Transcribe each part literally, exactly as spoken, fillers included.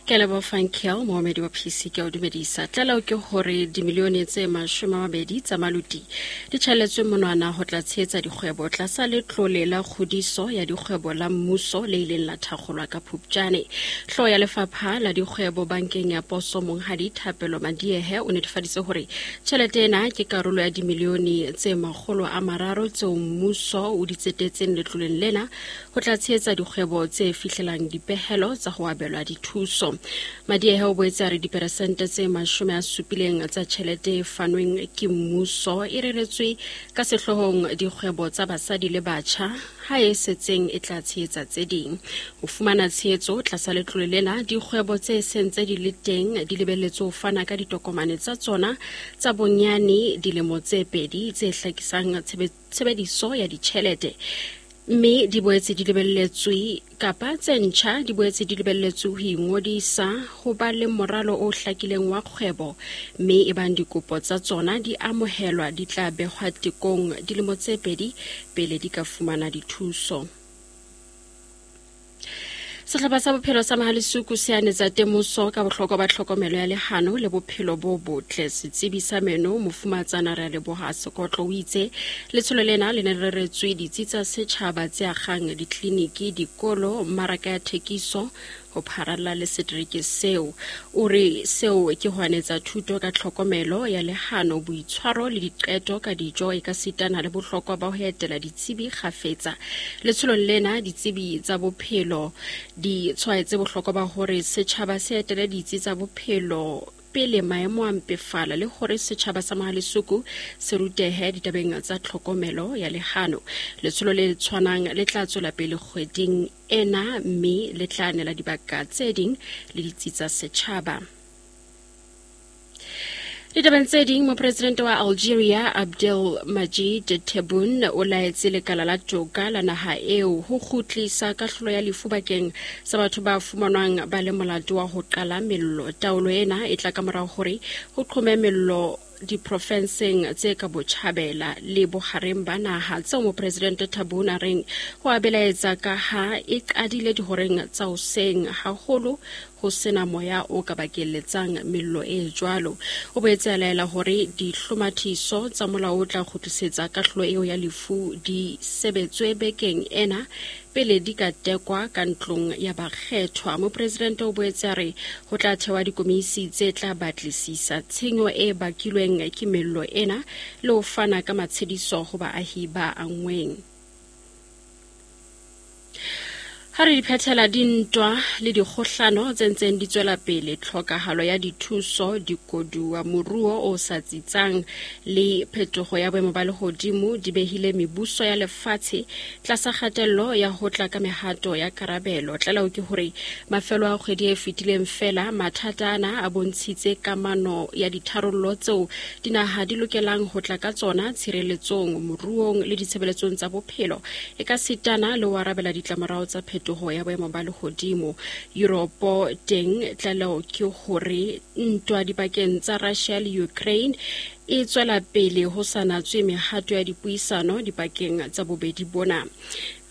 Ke a leboha Frankel, moomedi wa P C ke o dumedisa. Tlaleho ke hore dimilione tse mashome a mabedi tsa maluti di tjhaelletswe monwana ho tla tshehetsa dikgwebo tlasa letlole la kgodiso ya dikgwebo la mmuso le ileng la thakgolwa ka Phupjane. Hlooho ya lefapha la dikgwebo bankeng ya Poso Monghadi Thapelo Madiehe o netefaditse hore tjhelete ena ke karolo ya dimilione tse makgolo a mararo tseo mmuso o di tsetetseng letloleng lena ho tla tshehetsa dikgwebo tse fihlelang dipehelo tsa ho abelwa dithuso. Madiehe o boetse a re diperesente tse mashome a supileng tsa tjhelete e fanweng ke mmuso e reretswe ka sehloohong dikgwebo tsa basadi le batjha, ha e setseng e tla tshehetsa tse ding. Ho fumana tshehetso tlasa letlole lena, dikgwebo tse seng tse di le teng di lebelletswe ho fana ka ditokomane tsa tsona tsa bonyane dilemo tse pedi tse hlakisang tshebediso ya ditjhelete, mme di boetse di lebelletswe kapa tse ntjha di boetse di lebelletswe ho ingodisa ho ba le moralo o hlakileng wa kgwebo, mme ebang dikopo tsa tsona di amohelwa di tla behwa tekong dilemo tse pedi pele di ka fumana dithuso. Sehlopha sa bophelo sa Mahalisuku se anetsa temoso ka bohlokwa ba tlhokomelo ya lehano le bophelo bo botle. Setsebi sa meno Mofumatsana Realeboha Sekotlo o itse letsholo lena le ne le reretswe ditsi tsa setjhaba tse akgang ditleliniki, dikolo, mmaraka ya thekiso ho pharalla le setereke seo. O re seo ke ho anetsa thuto ka tlhokomelo ya lehano, boitshwaro le diqeto ka dijo e ka sitana le bohlokwa ba ho etela ditsebi kgafetsa. Letsholong lena ditsebi tsa bophelo di tshwaetse bohlokwa ba hore setjhaba se etele ditsi tsa bophelo pele maemo a mpefala le hore setjhaba sa Mahalisuku se rutehe ditabeng tsa tlhokomelo ya lehano. Letsholo le tshwanang le tla tswela pele kgweding ena mme le tla nela dibaka tse ding le ditsi tsa setjhaba. Ditabeng tse ding, mopresidente wa Algeria Abdelmadjid Tebboune o laetse lekala la toka la naha eo ho kgutlisa kahlolo ya lefu bakeng sa batho ba fumanwang ba le molato wa ho qala mello. Taolo ena e tla ka morao hore ho qhome mello diprofenseng tse ka botjhabela le bohareng ba naha tseo mopresidente Tebboune a reng ho a belaetsa ka ha e qadile dihoreng tsa hoseng haholo ho sena moya o ka bakelletsang mello e jwalo. O boetse a laela hore dihlomathiso tsa molao o tla kgutlisetsa kahlolo eo ya lefu di sebetswe bekeng ena pele di ka tekwa ka ntlong ya bakgethwa. Mopresidente o boetse a re ho tla thewa dikomisi tse tla batlisisa tshenyo e bakilweng ke mello ena le ho fana ka matshediso ho baahi ba anngweng. Ha re di phethela dintwa le dikgohlano tse ntseng di tswela pele, tlhokahalo ya dithuso, dikoduwa, moruo o sa tsitsang le phetoho ya boemo ba lehodimo di behile mebuso ya lefatshe tlasa kgatello ya ho tla ka mehato ya karabelo. Tlaleho ke hore mafelo a kgwedi e fetileng fela mathata ana a bontshitse kamano ya ditharollo tseo dinaha di lokelang ho tla ka tsona tshireletsong, moruong le ditshebeletsong tsa bophelo, e ka sitana le ho arabela ditlamorao tsa phetoho ya boemo ba lehodimo. Europe teng tlaleho ke hore ntwa dipakeng tsa Russia le Ukraine e tswela pele ho sa natswe mehato ya dipuisano dipakeng tsa bobedi bona.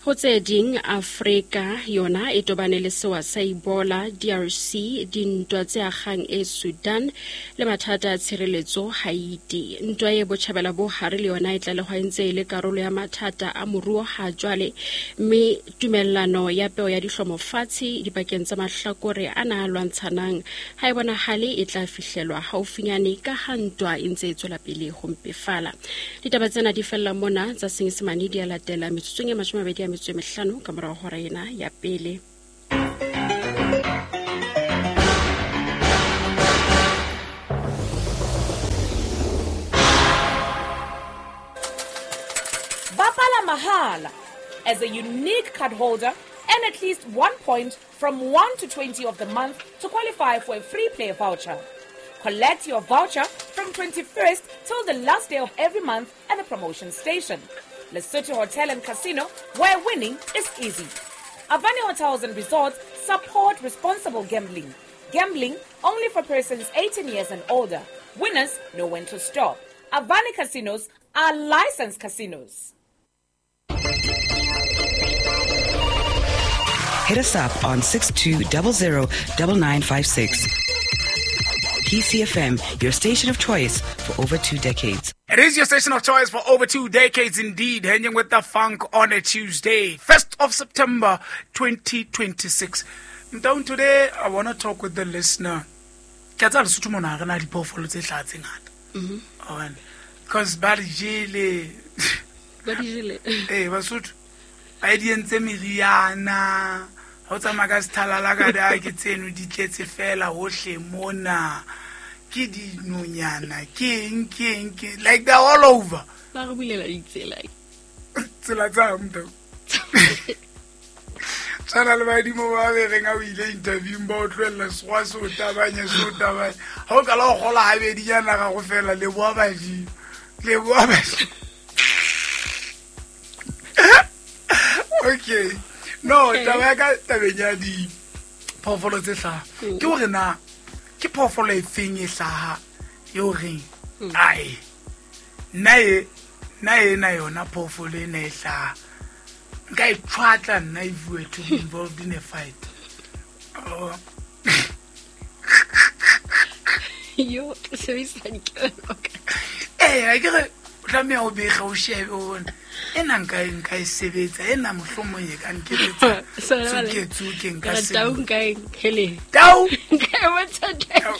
Ho tse ding, Afrika yona e tobane le sewa sa Ebola, D R C, dintwa tse akgang e Sudan le mathata a tshireletso Haiti. Ntwa e botjhabela bo hare le yona e tlalehwa e ntse e le karolo ya mathata a moruo ha jwale, mme tumellano ya peo ya dihlomo fatshe dipakeng tsa mahlakore ana a lwantshanang ha e bonahale e tla fihlelwa haufinyane ka ha ntwa e ntse e tswela pele ho mpefala. Ditaba tsena di fella mona tsa Senyesemane di a latela metsotsong e mashome a mabedi a metso e mehlano ka morao hora ena ya pele. Bapala mahala as a unique card holder and at least one point from one to twenty of the month to qualify for a free play voucher. Collect your voucher from twenty-first till the last day of every month at the promotion station. Lesotho Hotel and Casino, where winning is easy. Avani Hotels and Resorts support responsible gambling. Gambling only for persons eighteen years and older. Winners know when to stop. Avani Casinos are licensed casinos. Hit us up on six two zero zero nine nine five six. P C F M, your station of choice for over two decades. It is your station of choice for over two decades indeed, hanging with the funk on a Tuesday, first of September, twenty twenty-six. Down today, I want to talk with the listener. Ke tsa Lesotho mona re na diphoofolo tse hlaha tse ngata. Mhm. Because ba di jele. Ba di jele. Eh, Basotho. Ba di entse meriana. Ha o tsamaya ka sethalala ka da ke tseno di tletse fela hohle mona. Ke dinonyana, ke eng, ke eng, ke like they're all over. Ba re bulela ditsela. Tsela tsa mnto. Tshwana le badimo ba be reng ha o ile interview ba o tlohella sekgowa se o tabanye, se o tabanye. Ha o qala ho kgola habedinyana ga go fela, leboha badimo. Leboha badimo. Okay. No, taba ya ka tabeng ya diphoofolo tse hlaha. Ke hore na ke phoofolo e feng e hlaha eo reng ai nna e nna ena yona phoofolo ena e hlaha nka e tshwatla nna if we were to be involved in a fight. Oh. Yo, sebedisa dikelello ka. Eh, ke re o tlameha o bege o shebe o bone ena nka e nka e sebetsa ena mohlomong e ka nketsetsa tsoke nka se tau nka e hele tau nka e bontsha tau.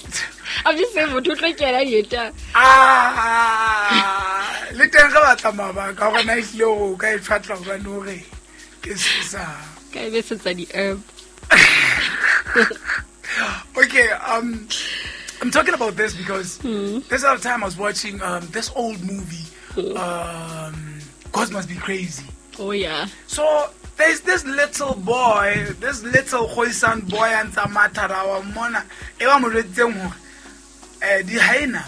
I'm just saying motho o tlo kena dieta. Ah, le teng re batla mabaka gore na ehlile hore o ka e tshwatla hobane o re ke sesa ka e besetsa di-herb. Okay, um I'm talking about this because mm. this other time I was watching um, this old movie, mm. um, God Must Be Crazy. Oh, yeah. So there's this little boy, this little Khoisan boy, and Samatara, Mona, Eva Mo jwetsitseng hore, eh, di hyena,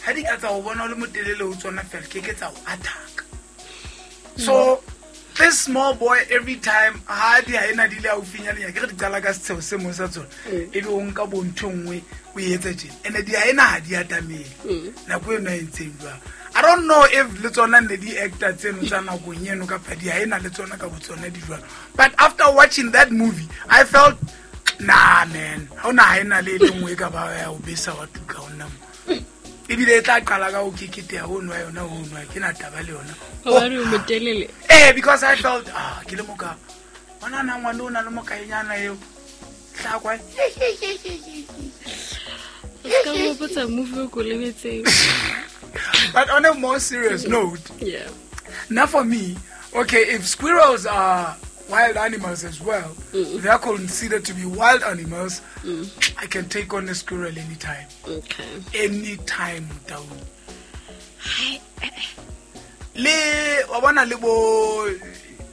ha di ka tsa o bona o le motelele ho tsona fela, ke ke tsa o attack. So this small boy, every time ha di hyena di le haufinyana, ke re di qala ka setsheo se mong sa tsona, ebe o nka bo ntho e nngwe o e etsa tjena. Ene di hyena ha di atamele. Nako eno e entseng jwalo. I don't know if le tsona ne di actor tseno tsa nakong eno kapa di hyena le tsona ka botsona di jwalo. But after watching that movie, I felt, nah man, ha ona hyena le e le nngwe e ka ba ya o besa wa tuka ho nna mo. Ebile e tla qala ka ho keketeha ho nwa yona ho nwa, ke na taba le yona. Hobane o motelele. Eh, because I felt, ah, ke le moka. Bona na ngwana o na le mokaenyana eo. Tla kwa. Ka mo botsa movie o ko lebetseng. But on a more serious note, yeah. Now for me, okay, if squirrels are wild animals as well, mm. they are considered to be wild animals, mm. I can take on a squirrel anytime. Okay. Anytime, down. Hi. Le, wa bona le bo,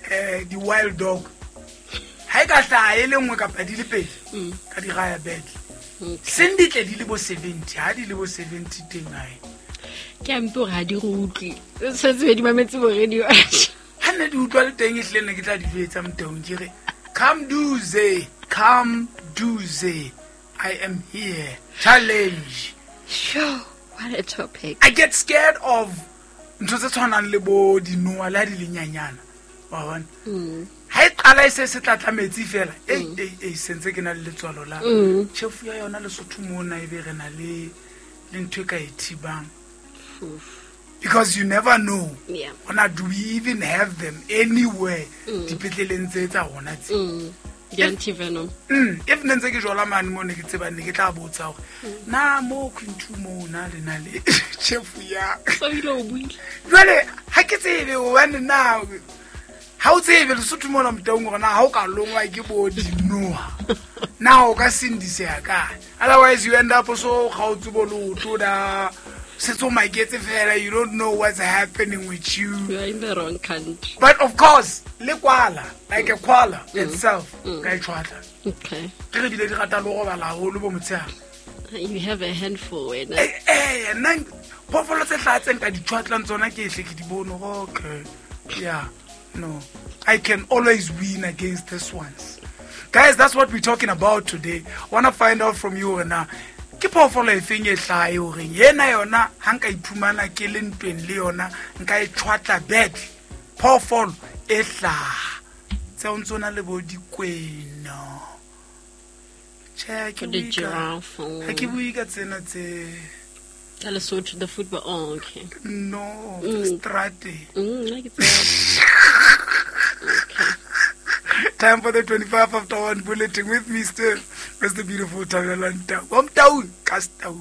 eh, the wild dog. Ha e ka hlaha e le nngwe kapa di le pedi, Mm. ka di raya badly. Okay. Seng di tle di le bo seventy, ha di le bo seventy teng hae. Ke a mpe hore ha di re utlwe. Tshwanetse be di mametse bo radio. Ha nne di utlwa le teng ehlile ne ke tla di jwetsa motaung ke re, come duze, come duze. I am here. Challenge. Sure, what a topic. I get scared of ntho tse tshwanang le bo dinoha le ha di le nyanyana. Wa bona? Mm. Ha e qala e se se tlatla metsi fela, ei, Mm. ei, ei, sentse ke na le letswalo la Mm. tjhefu ya yona Lesotho mona ebe re na le, le ntho e ka e thibang. Oof. Because you never know. Yeah. Ona, do we even have them anywhere? Mm. Dipetleleng tse tsa rona tse. Mm. The anti-venom. Mm. If ne ntse ke jwala mane mo ne ke tseba ne ke tla botsa hore, Mm. na mo Queen two mo na le na le tjhefu ya. So ile o buile. Jwale ha ke tsebe hobane na ha o tsebe Lesotho mona motaung hore na ha o ka longwa ke bo dinoha. Na o ka sindiseha kae? Otherwise you end up so kgaotse bo leoto da setse o maketse fela, you don't know what's happening with you. You are in the wrong country. But of course, le kwala, like a koala Mm. itself, Mm. ka e tshwatla. Okay. Ke re bile di rata le ho robala haholo bo motshehare. You have a handful wena. Eh, eh, nna phoofolo tse hlaha tse nka di tshwatlang tsona ke ehle ke di bone hore, okay. Yeah, no. I can always win against this ones. Guys, that's what we're talking about today. Wanna find out from you hore na ke phoofolo e feng e hlaha e horeng yena yona ha nka iphumana ke le ntweng le yona nka e tshwatla badly. Phoofolo e hlaha Tse o ntso na le bo dikwena. Che ke The bue ka giraffe. ha ke bue ka tsena tse Tsa Lesotho, the football. Oh, okay. no Mm. strate. Mm, I get that. Okay. Time for the twenty-five after one bulletin with me still. Mister Beautiful Thabela Ntau. Wa Mtaung, ka Stau.